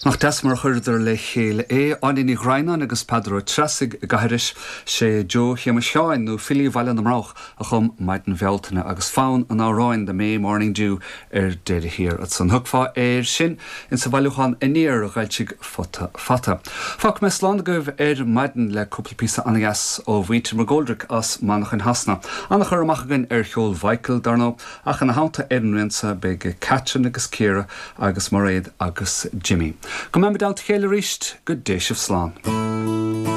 Nach deas mar a chuireadar le chéile é, Áine Ní Dhroighneáin agus Peadar Ó Treasaigh i gCathairis. Sé Joe Shéamuis Sheáin, nó Filí Bhaile na mBroghach, a chum Maidin Bhealtaine agus fonn an amhráin The May Morning Dew ar deireadh thiar ansan. Thiocfá air sin insa bhailiúchán Aniar a d'fhoilsigh Futa Fata. Fágfaidh mé slán agaibh ar maidin le cúpla píosa an-dheas ó mhuintir McGoldrick as Manchain Shasana. An-chur amach againn ar cheol Mhichael, dar ndóigh, Ach ina theannta ar an rian seo beidh Catherine agus Ciara agus Mairéad agus Jimmy. Go mbeimid i dteannta a chéile arís, go dté sibh slán.